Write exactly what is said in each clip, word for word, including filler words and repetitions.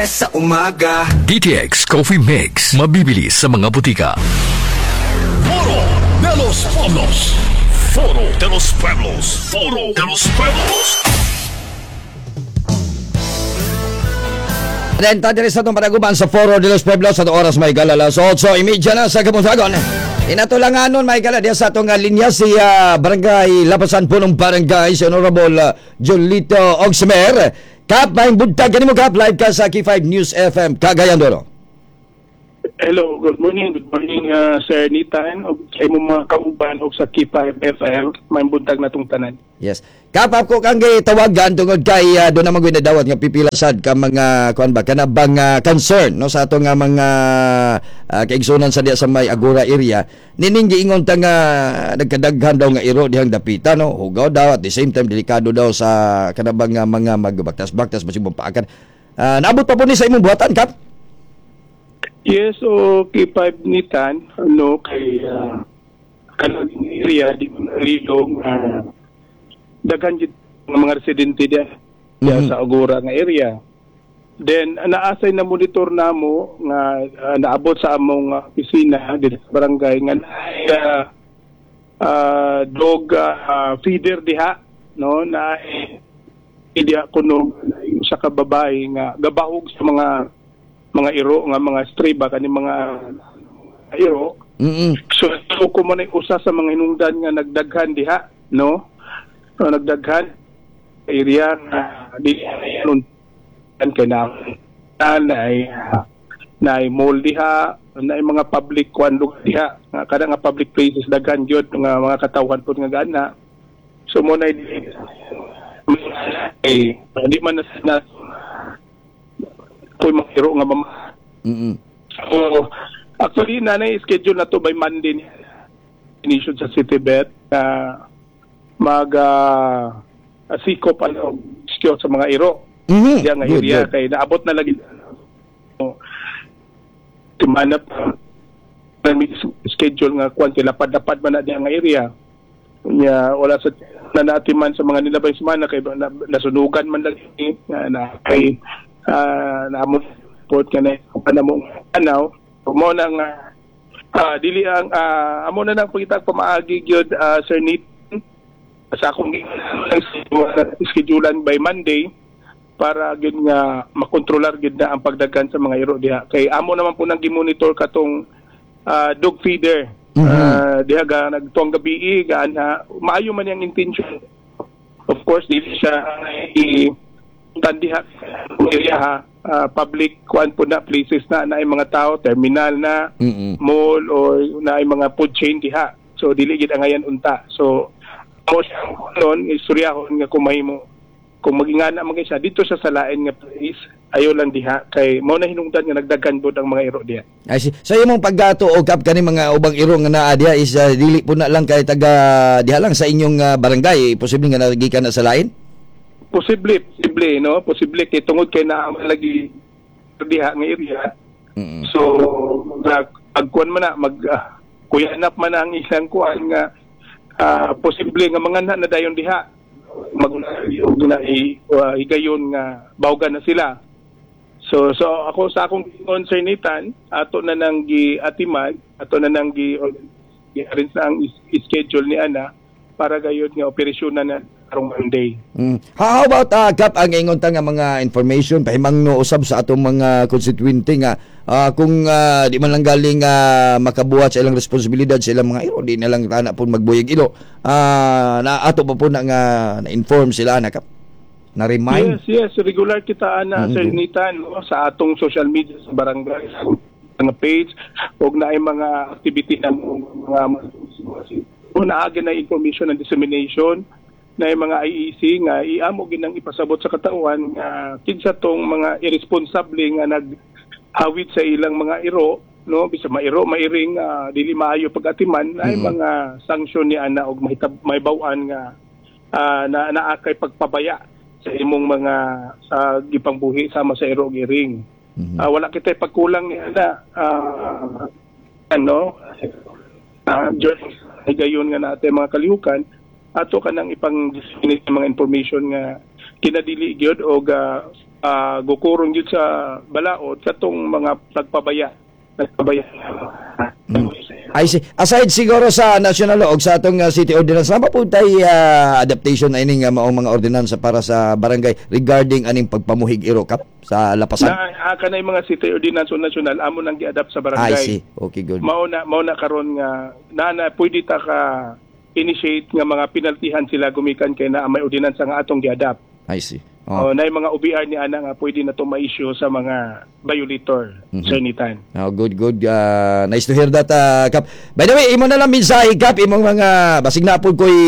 Sa umaga. D T X Coffee Mix. Mabibili sa mga butika. Foro de los Pueblos. Foro de los Pueblos. Foro de los Pueblos. Then, diri sa itong panaguban sa Foro de los Pueblos sa oras may galala. So, eight thirty na sa Kabuntagon. Inatulanganon may gala diya sa atong uh, linya si uh, Barangay Lapasan, Punong Barangay, si Honorable uh, Julito Ogsmer. Kap, may buntag kanimo, Kap, live ka sa K five News F M, Cagayan de Oro. Hello, good morning. Good morning, uh, Sir Nitan, ug sa imong mga kauban og sa K five F M. May buntag na tong tanan. Yes. Kap, ako kang tawagan tungod kay uh, doon naman nadawat nga pipila sad ka mga kuan ba kana bang uh, concern, no, sa atong nga mga uh, kaigsunan sa diya sa may Agora area nining giingon ta nga nagkadaghan daw nga iro dihang dapita, no, hugaw daw, at the same time delikado daw sa kana bang nga mga magbaktas-baktas basig paakan. Uh, naabot pa po ni sa imong buhatan, Kap? Yes, o K five Nitan, ano, kay uh, kanang area di Rilong, uh, daghan jud nga mga residente diya, diya Mhm. sa Agora nga area. Then naasay na monitor namo nga uh, naabot sa among uh, opisina dito sa barangay nga naay uh, uh, dog uh, feeder diha, no, na diha kuno usa ka babae nga gabahog sa mga mga iro nga mga stray ba kani mga iro. Mm. So ko man ay usa sa mga hinungdan nga nagdaghan diha, no, so, nagdaghan area nga di nun kay na na ay na ay mall diha, na ay mga public kwan lugar diha nga kada nga public places daghan gyud nga mga katawhan pud nga gana. So mo na eh di man na, na koy mga iro nga mama. Mm. So actually nanay schedule na to by Monday ni inisyon sa City Vet na mag uh, sikop ano secure sa mga iro. Mhm. Diya nga Good, area good. kay naabot na lagi. So, timana pa may schedule nga kwan kay lapad-lapad man na diya nga area. Nya wala sa na natiman sa mga nilabay semana kay na, nasunugan man lagi nga na kay uh, naamo port nga na na mo anaw mo na nga ah, dili ang ah, amo na nang pangitag pamaagi gyud, ah, Sir Nathan, sa akong schedulean by Monday para gyud nga makontrolar gyud na ang pagdaghan sa mga iro diha kay amo naman po nang gimonitor katong ah, dog feeder. Mhm. Ah, diha ga nagtuang gabi gaan ha maayo man yang intention. Of course dili siya i tan diha area ha. Ah, public kuan po na places na na mga tao, terminal na, Mm. mall or na ay mga food chain diha, so dili gid angayan unta. So mo siya noon istoryahon nga kung mahimo kung magingana man siya dito sa salain nga place, ayo lang diha kay mao na hinungdan nga nagdaghan bod ang mga iro diha. I see. So imong paggato o Kap kani mga ubang iro nga naa diha is uh, dili po na lang kay taga diha lang sa inyong uh, barangay, posible nga nagikan na sa lain? Posible, posible, no, posible kay tungod kay naa man lagi diha nga area. Mm. So nag agkuan man na mag uh, kuyanap man na ang isang kuan nga ah, posible nga mga na dayon diha mag og na i, uh, higayon nga bawgan na sila. So so ako sa akong concern, Nathan, ato na nang giatiman, ato na nang gi gi-arrange na ang is- schedule ni ana para gayud nga operasyon na na karong Monday. Mm. How about uh, Kap, ang ingon ta nga mga information pahimangno usab sa atong mga constituente nga ah, kung ah, di man lang galing uh, makabuhat sa ilang responsibilidad sa ilang mga iro, di na lang ana pud magbuyig ilo. Ah, na ato pa po na nga na-inform sila na, Kap? Na remind? Yes, yes, regular kita ana, Mm. Sir Nathan, no, sa atong social media sa barangay, sa mga page ug naay mga activity na mga naagi na information and dissemination na yung mga I E C nga iamo ginang ipasabot sa katauhan nga kinsa tong mga irresponsible nga naghawit sa ilang mga iro, no, bisa mairo, mairing, ah, dili maayo pag-atiman ay Mm. mga sanksyon ni ana og mahitab mahibaw-an nga ah, na naa kay pagpabaya sa imong mga sa gipangbuhi sama sa iro ug iring. Mhm. Ah, wala kita pagkulang ni ana, ah, ano uh, during higayon nga natin mga kalihukan ato kanang ipang disseminate ang mga information nga kinadili gyud og ah, uh, gukurong gyud sa balaod katong mga nagpabaya nagpabaya. Mm. I see. Aside siguro sa national law og sa atong uh, city ordinance, naa pa tay uh, adaptation ining uh, maong mga ordinansa para sa barangay regarding aning pagpamuhig iro, Kap, sa Lapasan? Na uh, kanay mga city ordinance o national, amo nang gi-adapt sa barangay. I see. Okay, good. Mao na mao na karon nga na na pwede ta ka initiate nga mga penaltihan sila gumikan kay naa may ordinansa nga atong gi-adapt. I see. Oh. Oh, na yung mga O B R ni ana nga pwede na to ma-issue sa mga violator, mm-hmm. Sir Nitan. Oh, good, good. Uh, nice to hear that, uh, Kap. By the way, imo na lang mensahe, Kap, imong mga, basig na po ko'y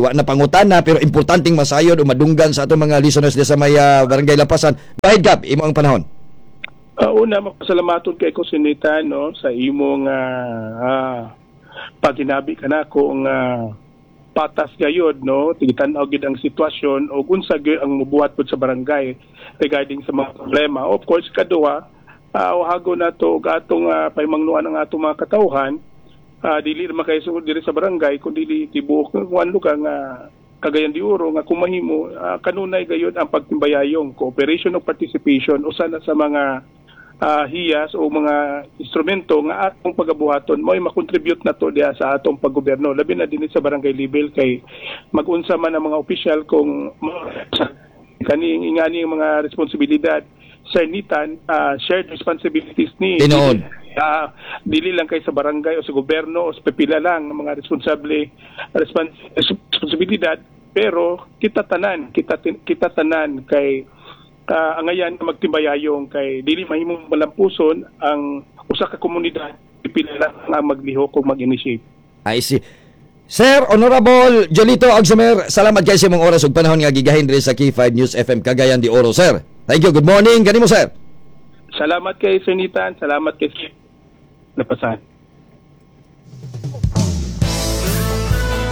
wa na pangutana, pero importanteng masayod o madunggan sa atong mga listeners di sa may uh, Barangay Lapasan. Go ahead, Kap, imo ang panahon. Uh, una, mapasalamaton kay ko, Sir Nitan, no, sa imong uh, uh, paginabi kanako nga uh, patas gayod, no, tigitan-aw gid ang sitwasyon o unsa gyud ang mubuhat pud sa barangay regarding sa mga problema. Of course, kaduha, uh, hago na to og atong uh, paimangnuan ang atong mga katawhan, uh, dili ra kay diri sa barangay kundi tibuok kuan lugar nga Cagayan de Oro, nga kung mahimo uh, kanunay gayud ang pagtimbayayong cooperation o participation usa na sa mga uh, hiyas o mga instrumento nga atong pagabuhaton mo'y makontribute na to diha sa atong paggobyerno, labi na dinhi sa barangay level, kay magunsa man ang mga opisyal kung kani ingani ang mga responsibilidad, Sir Nitan, uh, shared responsibilities ni. Tinuod. uh, dili lang kay sa barangay o sa gobyerno o sa pipila lang ang mga responsable respons responsibilidad, pero kita tanan, kita kita tanan kay uh, angayan magtimbayayong kay dili mahimong malampuson ang usa ka komunidad, pipila lang ang maglihok o mag-initiate. I see. Sir Honorable Jolito Agsamer, salamat kay sa imong oras ug panahon nga gigahin diri sa K five News F M Cagayan de Oro, sir. Thank you. Good morning kanimo, sir. Salamat kay Sir Nitan, salamat kay Lapasan.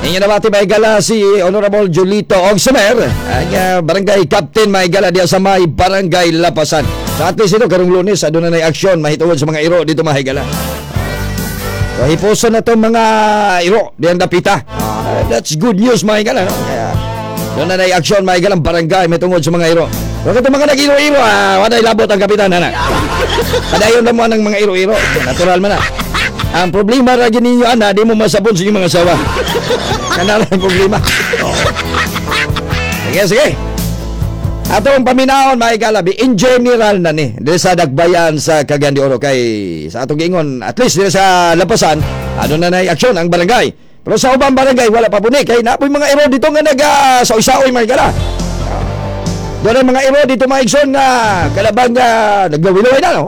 Inyo nabati, mga higala, si Honorable Jolito Ogsumer, ang uh, barangay captain, mga higala, diya sa may Barangay Lapasan. So at least ito, karong Lunes, aduna na aksyon mahitungod sa mga iro dito, mga higala. So hipuson na itong mga iro diyang dapita. Uh, that's good news, mga higala. No? Kaya doon na na aksyon, mga higala, barangay mahitungod sa mga iro. Huwag itong mga nag-iro-iro, ah, walay labot ang kapitan, ana. Padayon na mo ang mga iro-iro. Natural man na. Ang problema ra gyud ninyo ana, di mo masabon sa inyong mga asawa. Kana lang ang problema. Oh. Sige, sige. Atong paminawon, mga higala, in general na ni diri sa Dakbayan sa Cagayan de Oro, kay sa atong giingon, at least diri sa Lapasan, ano na na aksyon ang barangay. Pero sa ubang barangay wala pa puni kay napoy mga iro dito nga naga saoy-saoy, mga higala. Doon ang mga iro dito, mga igsoon, nga kalabang nga naglawilaway na, no?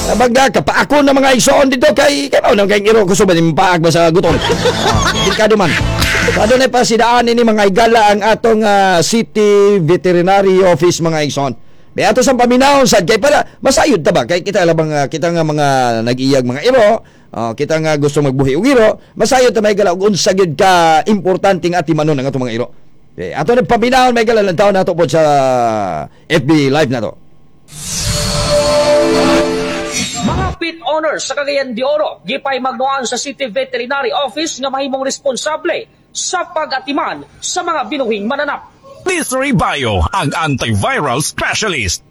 Kalabang nga kapaakon ng mga igsoon dito kay kay mao nang kay iro kusog ba ni paak ba sa gutom. Uh, delikado man. So adunay pasidaan ini, mga higala, ang atong uh, City Veterinary Office, mga igsoon. May ato sa paminawon sad kay para masayod ta ba kay kita labang uh, kita nga mga nag-iyag mga iro, uh, kita nga gusto magbuhi og iro, masayod ta, mga higala, og unsa gyud ka importante nga atimanon ang atong mga iro. Okay, ato na paminawon, mga higala, lang taon nato po sa F B Live na to. Mga pet owners sa Cagayan de Oro, gipay magnuan sa City Veterinary Office nga mahimong responsable sa pag-atiman sa mga binuhing mananap. Mystery Bio, ang antiviral specialist.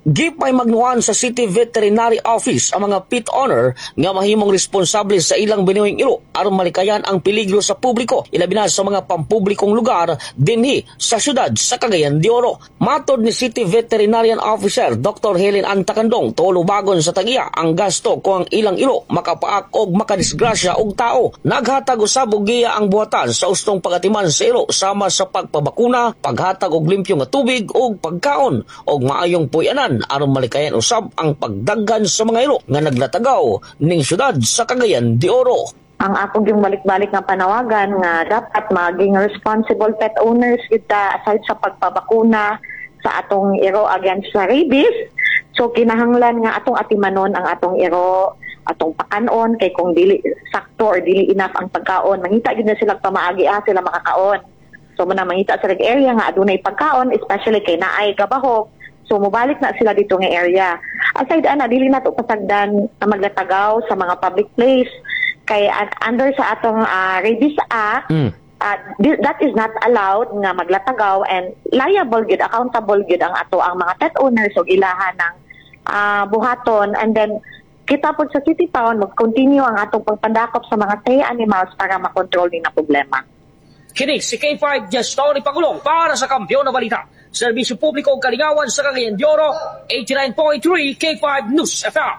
Gipay magnuan sa City Veterinary Office ang mga pet owner nga mahimong responsable sa ilang binuhing iro aron malikayan ang peligro sa publiko, ilabi na sa mga pampublikong lugar dinhi sa syudad sa Cagayan de Oro. Matod ni City Veterinarian Officer Doctor Helen Antakandong, tulubagon sa tag-iya ang gasto kung ang ilang iro makapaak og makadisgrasya og tao. Naghatag usab og giya ang buhatan sa ustong pagatiman sa iro sama sa pagpabakuna, paghatag og limpyo nga tubig ug pagkaon og maayong puy-anan aron malikayan usab ang pagdaghan sa mga iro nga naglatagaw ning syudad sa Cagayan de Oro. Ang akong yung balik-balik nga panawagan nga dapat maging responsible pet owners kita aside sa pagpabakuna sa atong iro against sa rabies. So kinahanglan nga atong atimanon ang atong iro, atong pakanon, kay kung dili sakto or dili enough ang pagkaon, mangita gyud na sila pamaagi ah, sila makakaon. So muna mangita sa area nga adunay pagkaon, especially kay naay gabahog. So mobalik na sila dito nga area. Aside ana, dili na to pasagdan na maglatagaw sa mga public place kay uh, under sa atong uh, Rabies Act Mm. uh, thi- that is not allowed nga maglatagaw and liable gyud, accountable gyud ang ato ang mga pet owners ug ilahan ng ah, buhaton. And then kita pod sa City Pound, mag-continue ang atong pagpadakop sa mga stray animals para makontrol din ang problema. Kini si K five Gestori Pagulong para sa Kampeon na Balita. Serbisyo publiko ug kalingawan sa Cagayan de Oro, eighty-nine point three K five News F M.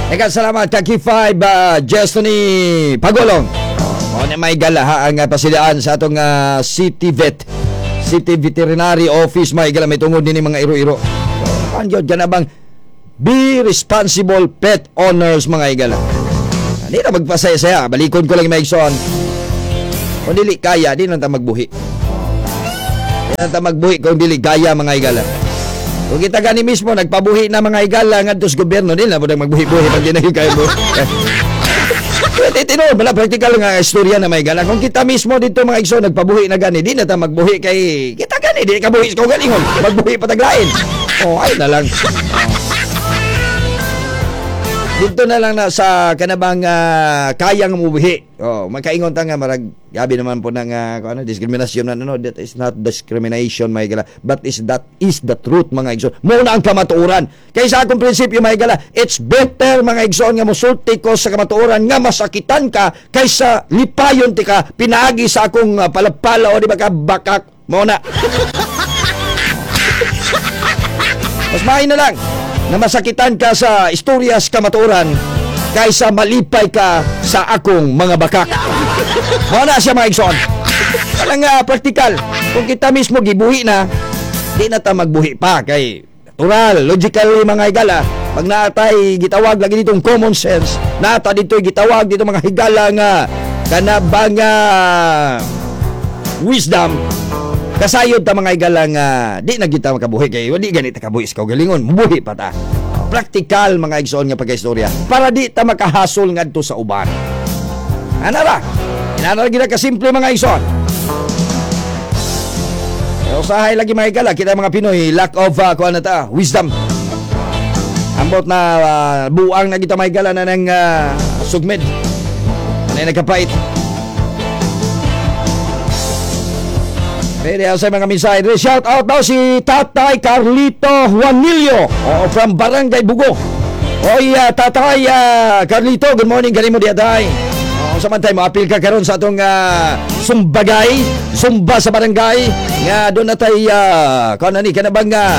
Eka, salamat ka K five uh, Gestony Pagulong. Mao na may gala ang uh, pasidaan sa atong uh, City Vet. City Veterinary Office, may gala, may tungod dinhi mga iro-iro. Kan gyud na bang be responsible pet owners, mga igala. Di na magpasaya-saya, balikon ko lang, may igsoon. Kung dili kaya, di lang ta magbuhi. Di lang ta magbuhi kung dili kaya, mga igala. Kung kita gani mismo nagpabuhi na, mga igala, ngadto sa gobyerno, di na mo magbuhi-buhi pag di na kaya mo. Pwede tinuod, wala practical nga istorya na, may gala. Kung kita mismo dito, mga igsoon, nagpabuhi na gani, di na ta magbuhi kay kita gani di ka buhi sa kaugalingon, magbuhi pa taglain. Oh, ay na lang. Oh. Dito na lang na sa kanabang uh, kayang mubuhi. Oh, magkaingon ta nga marag gabi naman po ng uh, kung ano, diskriminasyon na. No, that is not discrimination, mga igala, but is that is the truth, mga igsoon. Mao na ang kamatuoran. Kay sa akong prinsipyo, mga igala, it's better, mga igsoon, nga mosulti ko sa kamatuoran nga masakitan ka kaysa lipayon ti ka pinaagi sa akong uh, palapala o di ba ka bakak mo na. Mas maayo na lang na masakitan ka sa istorya sa kamatuoran kaysa malipay ka sa akong mga bakak. Mao na siya, mga igsoon. Walang uh, praktikal. Kung kita mismo gibuhi na, di na ta magbuhi pa kay natural, logically, mga higala. Pag naatay gitawag lagi ditong common sense, naata dito gitawag dito, mga higala, nga kanabang uh, wisdom, kasayod ta, mga higala, nga di na kita makabuhi kay di ganit ta kabuhi sa kaugalingon, mubuhi pa ta. Praktikal, mga igsoon, nga pagkaistorya para di ta makahasol ngadto sa uban. Ana ra, inana ra gina kasimple, mga igsoon. Pero usahay lagi, mga higala, kita mga Pinoy, lack of uh, kuan na ta, wisdom. Ambot na uh, buang na kita, mga higala, na ng uh, sugmed. Ano yung nagkapait? Pwede sa mga mensahe. Shout out daw si Tatay Carlito Juanillo, oh, from Barangay Bugo. Oy, uh, Tatay uh, Carlito, good morning kanimo diya, tay. Oh, samantay mo apil ka karon sa atong uh, sumbagay, sumba sa barangay nga doon na tay uh, kuan ni kana bang uh,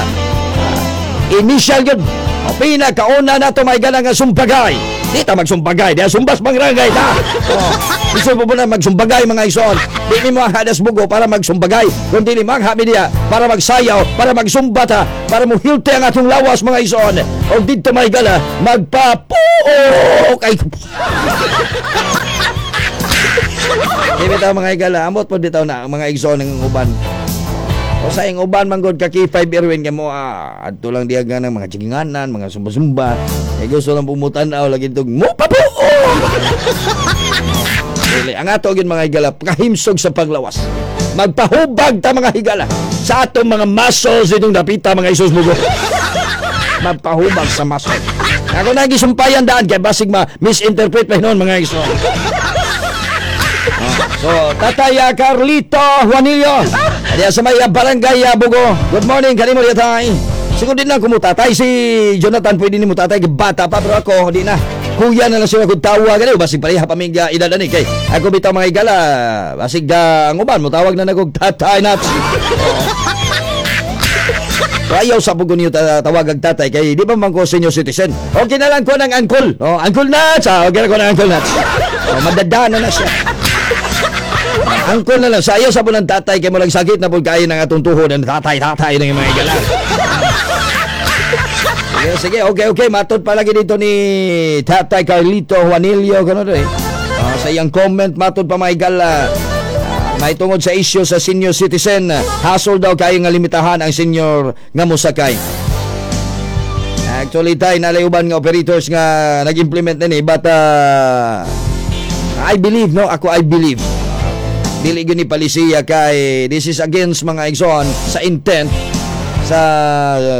initial yun. O, pinakauna na to may gala nga sumbagay. Di ta magsumbagay, di sumbas barangay ta. Oh, gusto mo na magsumbagay, mga igsoon? Di mi mo hadas Bugo para magsumbagay. Kung dili mangha mi diya para magsayaw, para magsumba ta, para mo hilti ang atong lawas, mga igsoon. O didto may gala magpapuok ay. Di bitaw, mga higala, amot po bitaw na ang mga igsoon ng uban. O sa ing uban manggod ka K five Erwin kay mo ah, adto lang diya ng mga chiginganan, mga sumba-sumba. Eh gusto lang pumutan-aw lagi itong mo papuok. Dili, ang ato gyud, mga higala, kahimsog sa paglawas. Magpahubag ta, mga higala, sa atong mga muscles itong dapita, mga Isus mugo. Magpahubag sa muscle. Ako na gisumpayan daan kay basig ma misinterpret pa hinon, mga Isus. So, Tatay ah, Carlito Juanillo, diya sa may ah, barangay ah, Bugo. Good morning, kanimo diya, tay. Siguro din lang kung tatay si Jonathan, pwede ni mo tatay, bata pa, pero ako, di na. Kuya na lang siya kung tawag, ano, basig pareha pa mig edad ani kay ako bitaw, mga higala, basig uh, ang uban mo tawag na nagog tatay Naps. Oh. Ayaw sa pugo niyo tawag ang tatay kay di ba man ko senior citizen. Okay na lang ko ng uncle. Oh, Uncle Nats. Ah, okay na ko ng Uncle Nats. Oh, madadana na siya. Uncle na lang. Sa ayaw sa po ng tatay kay mo lang sakit na po kayo ng atong tuhod ng tatay, tatay ng mga higala. Sige, sige, okay, okay. Matod palagi dito ni Tatay Carlito Juanillo. Ganun eh. Uh, sa iyang comment, matod pa, mga higala. Uh, may tungod sa issue sa senior citizen, hasol daw kayo nga limitahan ang senior nga mosakay. Actually, tay, nalayuban nga operators nga nag-implement na ni, but uh, I believe, no? Ako, I believe. Dili gyud ni palisiya kay this is against, mga igsoon, sa intent sa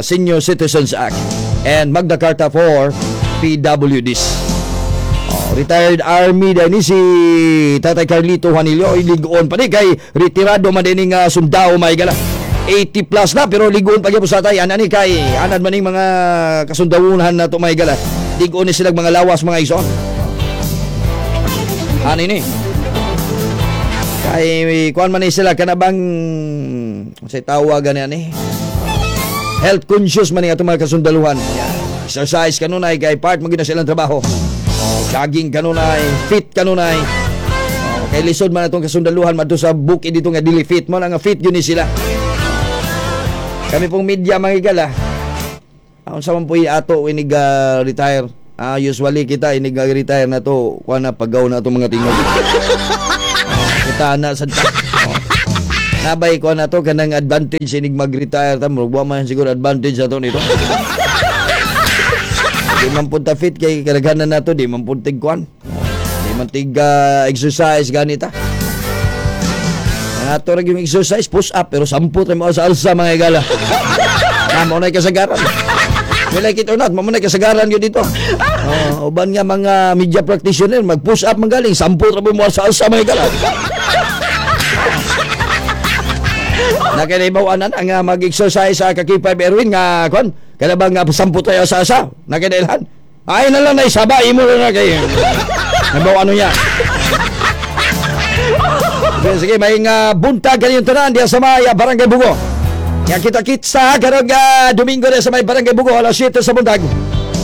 Senior Citizens Act and Magna Carta for P W Ds. Oh, Retired Army din ni si Tatay Carlito Juanillo. Oy, ligoon pa ni kay retirado man din nga sundao, mga higala. eighty plus na pero ligoon pa gyud sa tatay ana ni kay anad man ning mga kasundawuhan na to, mga higala. Ligoon ni silang mga lawas, mga igsoon. Ani ni kay kuan man ni sila, kana bang say tawag gani ani, health conscious man ni atong mga kasundaluhan. Yeah. Exercise kanunay kay part man gyud na silang trabaho. Oh, jogging kanunay, fit kanunay. Oh, kay lisod man atong kasundaluhan madto sa bukid dito nga dili fit mo na nga fit yun ni sila. Kami pong media, mga higala. Ang sa man po ato inig uh, retire. Ah, usually kita inig uh, retire na to, kuan na, pagaw na ato mga tingog. Kita na sa oh. Nabay ko na to kanang advantage inig mag-retire ta, murag wa man siguro advantage ato nito. Di man punta fit kay kadaghanan nato di man pud tig kuan. Di man tig uh, exercise ganita. Ang ato ra yung exercise, push up, pero samput ra mo sa alsa, mga higala. Na mo na kasagaran. We like it or not, mo na kasagaran yun dito. Oh, uban nga mga media practitioner mag push up man galing, samput ra mo sa alsa, mga higala. Nakaibaw anan ang uh, mag-exercise sa K five Erwin nga kon kada ba nga samput tayo sa asa nakailan ay na lang na isaba imo na kay nabaw ano niya. Okay, sige, may nga buntag kaniyong tanan diya sa may uh, Barangay Bugo. Yang kita-kitsa karong uh, Domingo diya sa may Barangay Bugo alas siyete sa buntag.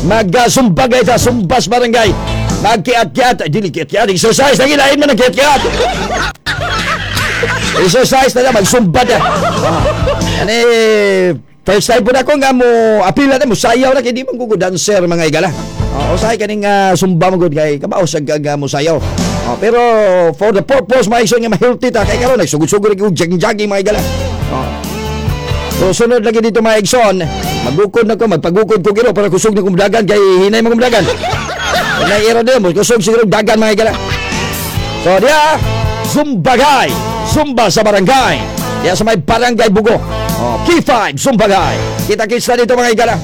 Mag-sumbagay ta, sumbas barangay. Magkiat-kiat, ay dili kiat-kiat, exercise lagi lain man ang kiat-kiat. Exercise na lang, magsumba na. Ani, first time po na ako nga mo apila na mo sayaw na kay di man ko dancer, mga igala. Oh, usahay kaning uh, sumba mo gud kay kabaw sa nga mo sayaw. Oh, pero for the purpose, mga igsoon, nga ma-healthy ta kay karon nagsugod-sugod og jogging-jogging, mga igala. Oh. So sunod lagi dito, mga igsoon, magukod na ko, magpagukod ko giro para kusog na kong dagan kay hinay mo kong dagan. Nay iro din mo kusog siguro dagan, mga igala. So diya Zumbagay, Zumba sa barangay. Diya sa may Barangay Bugo. Oh, K five Zumbagay. Kita-kits na dito, mga igala.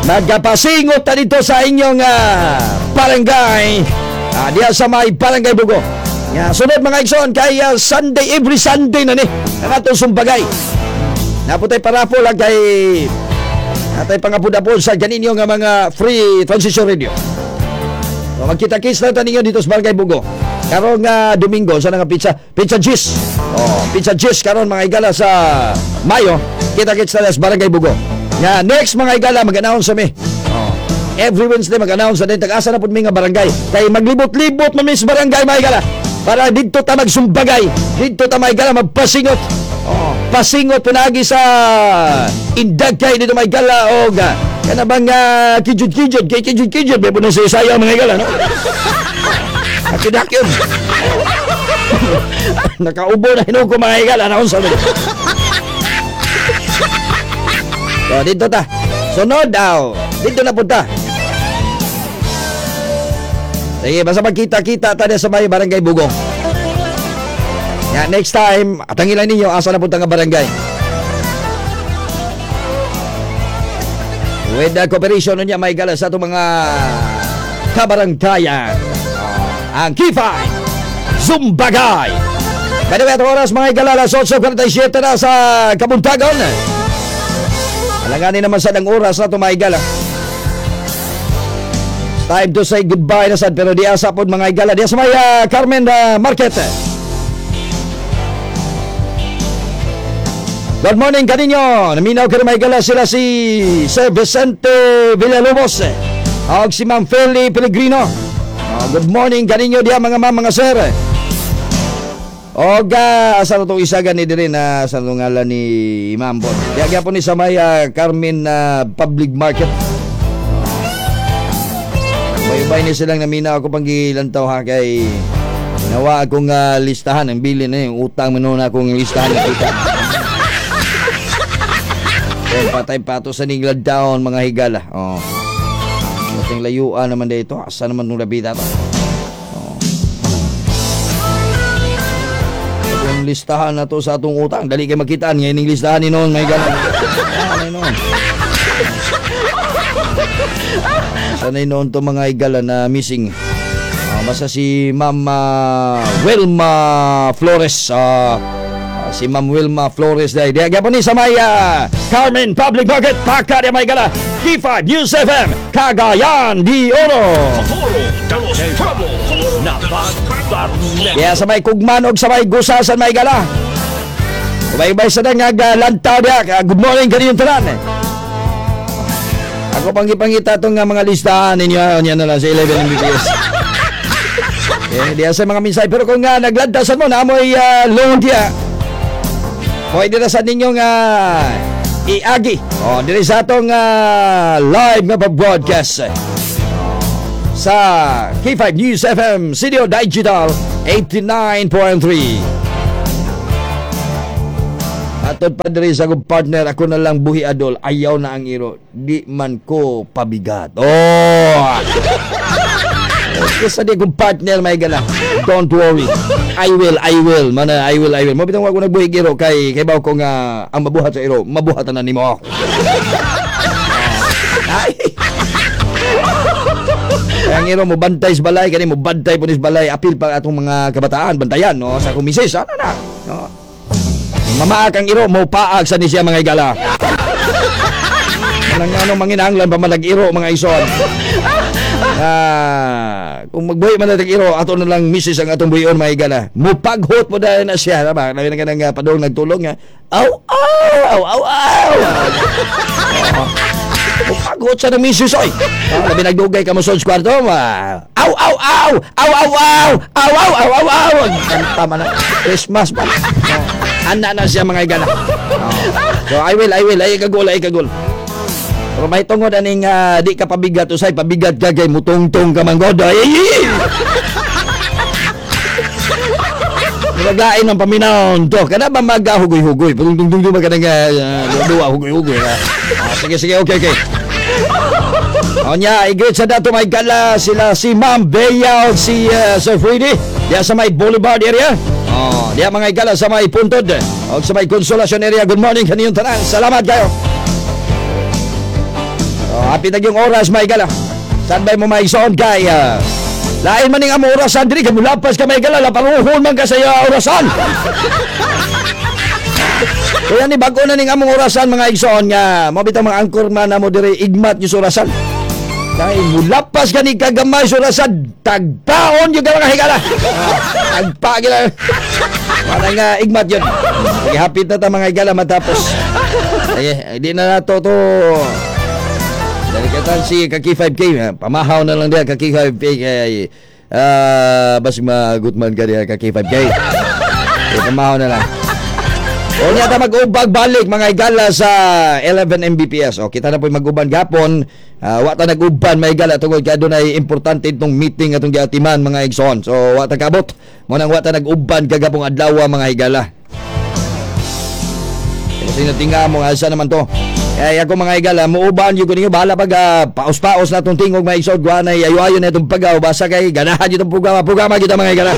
Nagpasingot na dito sa inyong uh, barangay. Ah, diya sa may Barangay Bugo. Ya, sunod, mga igsoon, kay uh, Sunday, every Sunday na ni ang atong Zumbagay. Naputay parapol lang kay atay pangapud-apod sa ganinyo nga mga free transistor radio. So, magkita-kits na ta ninyo dito sa Barangay Bugo. Karong uh, Domingo sa nga pizza, pizza Gis. Oh, pizza Gis karon, mga igala, sa Mayo. Kita-kits na sa Barangay Bugo. Ya, next, mga igala, mag-announce kami. Oh. Every Wednesday mag-announce na din tag-asa na pud mi nga barangay. Kay maglibot-libot man mi sa barangay, mga igala. Para didto ta magsumbagay. Didto ta, mga igala, magpasingot. Oh, pasingot pinagi sa Indagkay dito, mga igala, og kana bang uh, kijud-kijud kay kijud-kijud may bunang sa isayaw, mga igala, no? Akidakyon. Nakaubo na hinuog ko, mga higala. Ano sa So, dito ta. Sunod daw. Dito na punta. Sige, basta magkita-kita tayo sa may Barangay Bugo. Ya, next time, atangilan ninyo asa na punta nga barangay. With the cooperation niya may gala sa itong mga kabarangkayan. Ang K five Zumbagay. By the way, at oras, mga higala, alas otso kuwarenta y siyete na sa kabuntagon. Alanganin naman sa ng oras na ito, mga higala. It's time to say goodbye na sad, pero di asa po, mga higala. Di sa may uh, Carmen uh, Market. Good morning kaninyo. Naminaw ka rin, mga higala, sila si Sir Vicente Villalobos og si Ma'am Feli Pellegrino. Oh, good morning kaninyo diya, mga ma'am, mga sir. Og uh, asa na itong isa gani diri na sa ngalan ni Ma'am Bon. Diya gyapon ni sa may uh, Carmen uh, Public Market. Bay-bay ni silang namina ako panggilantaw ha kay nawa akong uh, listahan ang bilin na yung utang mo na akong listahan ng utang. Eh, patay pato sa Ninglad Town, mga higala. Oh. Ating layuan naman dito. Asa naman nung labita to? Oh. Ang listahan na to sa atong utang. Dali kay makitaan ngayon yung listahan ni noon may galan. Ano noon? Sanay noon to mga higala na missing. Ah, basta si Ma'am ah, Wilma Flores. Ah, ah, si Ma'am Wilma Flores dahil. Diya gyapon ni sa may ah, Carmen Public Market. Paka diya may gala. K five News F M, Cagayan de Oro. Foro de los Pueblos. Kaya sa may kugman og sa may gusasan may gala. Ubay-ubay sa nga lantaw diya. Good morning kaniyong tanan. Ako pang gipangita itong nga mga listahan ninyo. Niya na lang sa eleven M B P S. Eh, diya sa mga minsay. Pero kung nga naglantasan mo, naamoy uh, loan diya. Pwede na sa ninyo nga iagi. O, diri sa atong ah, live nga pag-broadcast sa K five News F M, C D O Digital eighty-nine point three. Atod pa diri sa akong partner, ako na lang buhi adol, ayaw na ang iro. Di man ko pabigat. Oh! Okay, sa di akong partner may gala. Don't worry. I will, I will. Mana, I will, I will. Mo bitong ako nagbuhi iro kay kay baw ko nga ang mabuhat sa iro, mabuhatan na nimo. Ay. Kaya ang iro mo bantay sa balay, kani mo bantay po ni sa balay, apil pa atong mga kabataan, bantayan no sa akong misis, ano na. No. Mamaak ang iro, mo paag sa ni siya mga igala. Anang ano manginahanglan pa man iro mga ison. Ah, kung magbuhi man natin iro, ato na lang misis ang atong buhion mga igala. Mupaghot mo dahil na siya, tama? Labi na ka nang uh, padung nagtulong nga. Aw, aw, aw, aw, aw. Mupaghot sa ng misis, oy. Ah, labi nagdugay ka mo sa kwarto, ma. Aw, aw, aw, aw, aw, aw, aw, aw, aw, aw, aw. Kanta man na. Christmas pa. Oh, ana na siya mga igala. Oh. So I will, I will, ay kagul, ay kagul. Pero may tungod aning uh, di ka pabigat usay pabigat ka kay mutungtong ka man god. Ay, ay, ay. Naglain ang paminaw to. Kana ba magahugoy-hugoy? Tungtong-tungtong ba ka nang uh, duwa hugoy-hugoy ha? Ah, sige sige, okay okay. O niya, i-greet sa dato may gala sila si Ma'am Bea o si uh, Sir Freddy diya sa may Boulevard area. Oh, diya mga igala sa may Puntod o sa may Consolacion area. Good morning kaniyong tanan. Salamat kayo. Oh, happy na yung oras may gala. Saan ba mo may sound kay uh, lain man ning amo orasan diri kay mulapas ka may gala laparuhon man ka sa iya orasan. Kaya ni bago na ning among orasan mga igsoon nga mo bitang mga angkor man namo diri igmat yung orasan. Kay mulapas ka ni kagamay sa orasan, tagpaon yung ka mga higala. Ah, tagpa gila. Para nga igmat yun. Sige, hapit na ta mga higala matapos. Sige, di na nato to. Dali katan si Kaki five K, eh, pamahaw na lang diya Kaki five K kay ah bas magutman ka diya Kaki five K. Eh, pamahaw na lang. O niya ta mag-ubag balik mga higala sa eleven M B P S. O kita na po mag-uban gapon. Uh, wa ta nag-uban mga higala tungod kay adunay importante itong meeting atong giatiman mga igsoon. So wa ta kabot. Mo nang wa ta nag-uban kagapong adlaw mga higala. Kasi natinga mo asa naman to. Kaya ako mga higala, muuban yung kuninyo, bahala pag uh, paos-paos na itong tingog mga igsoon, guwa na ayo-ayo na itong pagaw, basta kay ganahan itong programa, programa kita mga higala.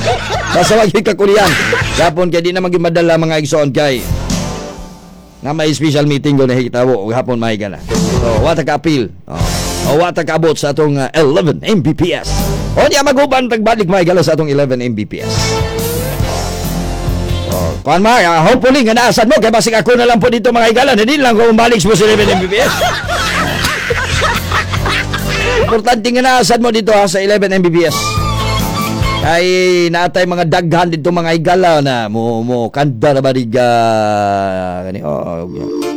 Basta wag kakulian. Gapon kay di na madala mga igsoon kay nga may special meeting ko na hikitawo og hapon mga higala. So, wa ta ka-appeal. Oh. O wa ta kaabot sa atong uh, eleven M B P S. O niya maguban tagbalik mga higala sa atong eleven M B P S. Oh, kuan ma, uh, hopefully nga naasan mo kay basig ako na lang po dito mga higala, hindi lang ko balik mo sa eleven M B P S. Importante nga naasan mo dito ha, sa eleven M B P S. Kay naatay mga daghan dito mga higala na mo mo kanda na ba diga kani oh.